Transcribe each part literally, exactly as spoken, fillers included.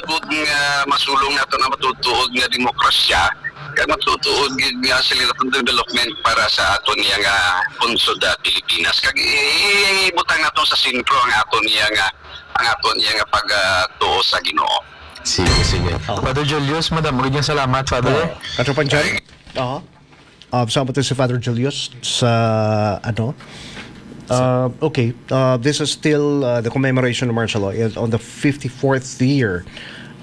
Gud nga masulong nato na matutuod nga demokrasya, kag matutuod gid nga sila itong development para sa aton niya nga pungsod, ah, Pilipinas. Kag i-, i-, ibutang nato sa sentro ang aton niya nga, ang aton niya nga pagtuo sa Ginoo. Sige, sige. Oh. Father Julius, madam, magandang salamat, Father. Oh. Katropang John? Aha. Uh, sama to si Father Julius sa, ano? Uh, okay, uh, this is still, uh, the commemoration of martial law is on the fifty-fourth year.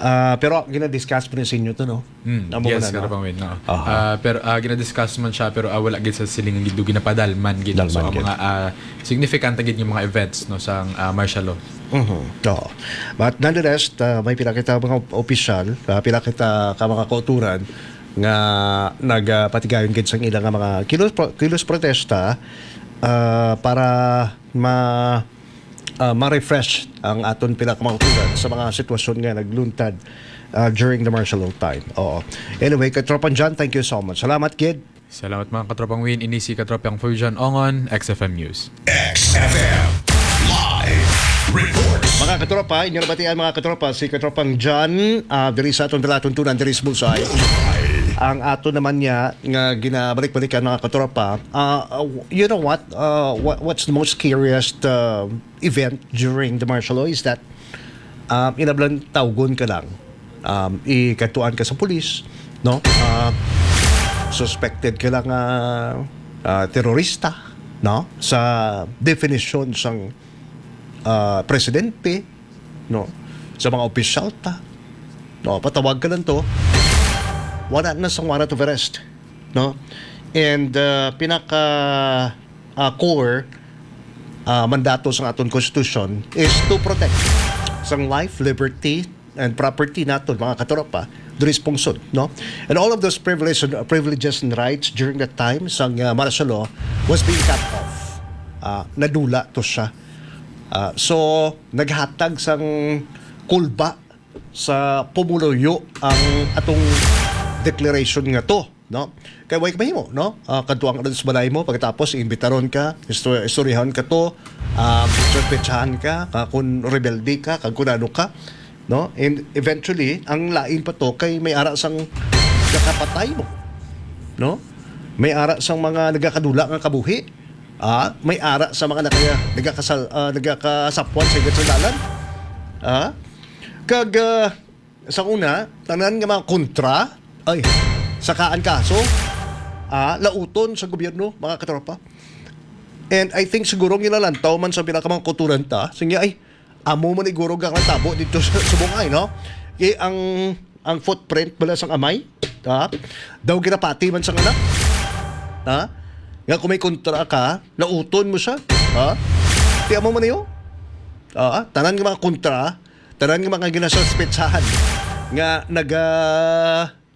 Uh, pero gina-discuss po ni sa inyo to, no? Mm, Amo yes, na, no? Karapang Win, no. Aha. Ah, pero, ah, gina-discuss man siya, pero, ah, wala gid sa siling gid, ginapadalman gid. So, Dalman ang gid. mga, ah, significant gid yung mga events, no, sa, ah, martial law. Mhm. Oo. But nonetheless, uh, may pila kita mga opisyal, uh, pila kita ka mga kauturan nga nagapatigayon gid sang ila nga mga kilos, pro-, kilos protesta, ah, para ma-, ah, ma-refresh ang aton pila ka mga kauturan sa mga sitwasyon nga nagluntad, ah, during the martial law time. Oo. Anyway, Katropang John, thank you so much. Salamat gid. Salamat, mga Katropang Win. Ini si Katropang Fujan Ongon, X F M News. X F M Live Reports. Mga katropa, inyo nabatian, mga katropa, si Katropang John, ah, diri sa aton palatuntunan, diri sa Bullseye. Ang ato naman niya nga ginabalik-balikan, mga katropa, ah, uh, you know what? Uh, what what's the most scariest, uh, event during the martial law is that, um, inablan tawgon ka lang, um, ikatuan ka sa pulis, no? Ah, suspected ka lang nga, ah, terorista, no? Sa definition sang, ah, presidente, no? Sa mga opisyal ta, no? Patawag ka lang to, wala na sang warrant of arrest, no? And, ah, pinaka, ah, core, ah, mandato sang aton konstitusyon is to protect sang life, liberty, and property naton, mga katropa, diri sa pungsod, no? And all of those privileges, privileges and rights during that time sang, ah, martial law was being cut off. Ah, nadula to siya. Ah, so, naghatag sang kulba sa pumuluyo ang atong declaration nga to, no? Kay way mahimo, no? Ah, kadtuan ka sa balay mo, pagkatapos iimbitaron ka, isto-, istoryahan ka to, ah, suspetsahan ka, ka kung rebelde ka, kag kung ano ka, no? And eventually, ang lain pa to kay may ara sang nakapatay mo, no? May ara sang mga nagakadula nga kabuhi, ah, may ara sa mga nagaya-, nagakasal-, ah, nagakasapwan sa igat sa dalan. Ah? Kag, ah, sa una, tanan nga mga kontra, ay, sakaan kaso, ah, lauton sa gobyerno, mga katropa. And I think siguro ginalantaw man sa pila ka mga kauturan ta, sige, ay, amo man iguro ang natabo dito sa, sa Bungay, no? Kay ang, ang footprint bala sang amay, ha? Daw ginapati man sang anak, ha? Nga kung may kontra ka, lauton mo siya, ha? Ti amo man iyo? Ah, tanan nga mga kontra, tanan nga mga ginasuspetsahan nga naga,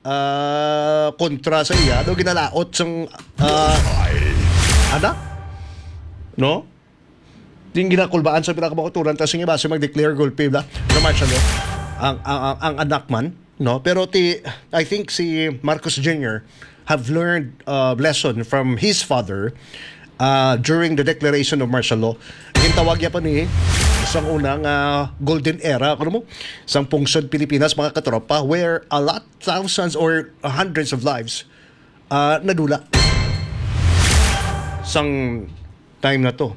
ah, kontra sa iya, daw ginalaot sang, ah, anak, no? Din ginakulbaan sa pila ka mga kauturan, tas yung iba, si mag-declare gulpi, bla, sa martial law. Ang, ang, ang, ang anak man, no? Pero ti, I think si Marcos Junior have learned, uh, lesson from his father, uh, during the declaration of martial law. Gintawag niya pa ni sang una nga golden era, kuno mo, sang pungsod Pilipinas, mga katropa, where a lot, thousands or hundreds of lives, uh, nadula sang time na to.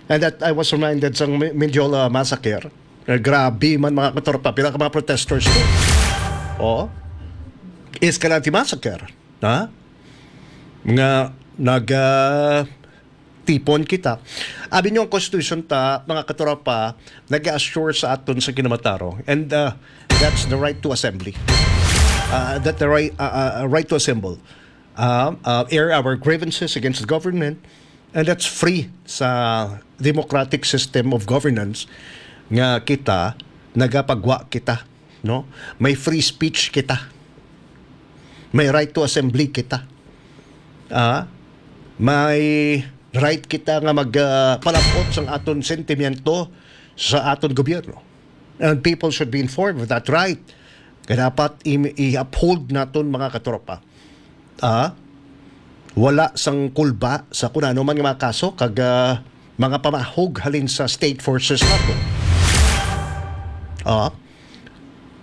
And that I was reminded sang Mi-, Mendiola massacre. Eh, grabe man, mga katropa, pila ka mga protesters to. Oh. Escalante massacre, ha? Nga nag, ah, tipon kita. Abi niyo ang constitution ta, mga katropa, nag-assure sa aton sa kinamatarong. And, uh, that's the right to assembly. Uh, that the right, uh, uh, right to assemble. Uh, uh, air our grievances against the government. And that's free sa democratic system of governance nga kita nagapagwa kita, no? May free speech kita. May right to assembly kita. Ah, may right kita nga mag, ah, palabot sang aton sentimiento sa aton gobyerno. And people should be informed of that right. Kaya dapat i-, i-uphold naton, mga katropa. Ah, wala sang kulba sa kung ano man nga mga kaso kag, ah, mga pamahog halin sa state forces nato. Ah,